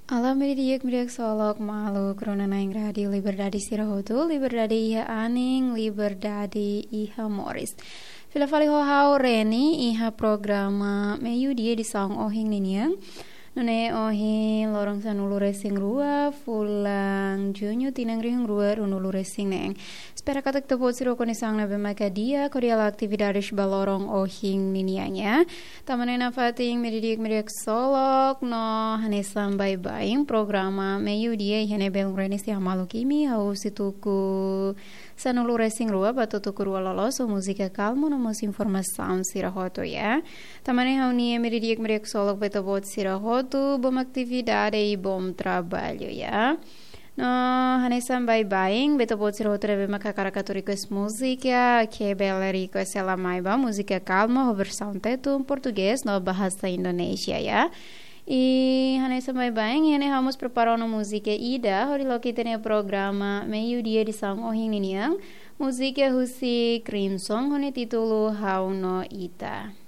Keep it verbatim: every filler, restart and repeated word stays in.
Alá meiudia di'ak, meiudia di'ak ksolok maluk rona-na'in Rádiu Liberdade sira hotu, liberdade iha anin, liberdade iha moris. Fila fali ho ha'u Reni iha programa Meiudia edisaun ohin ninian. Nune'e ohin loron sanulu-resin-rua, fulan Juñu, tinan rihun rua ruanulu-resin neen. Espera katak ita-boot sira ho kondisaun ne'ebé maka di'ak hodi halo atividades ba loron ohin ninian ya. Tanba ne'e nafatin meiudia di'ak, meiudia di'ak ksolok no hanesan baibain programa Meiudia iha ne'e belun Reni sei hamaluk imi hahú husi tuku sanulu-resin-rua ba tuku rua loloos ho múzika kalmu no mós informasaun sira hotu ya. Tanba ne'e ha'u-nia meiudia di'ak, meiudia di'ak ksolok ba ita-boot sira hotu, bom atividade i bom traballu ya. No hanesan baibain ba ita-boot sira hotu ne'ebé maka hakarak atu request múzika, ke bele request hela mai ba múzika kalmu ho versaun Tetun, Portugés no bahasa Indonézia ya. I hanesan baibain, iha ne'e ha'u mós prepara ona múzika ida hodi loke ita-nia programa Meiudia edisaun ohin ninian. Múzika husi Crimson ho nia títulu Ha'u no Ita.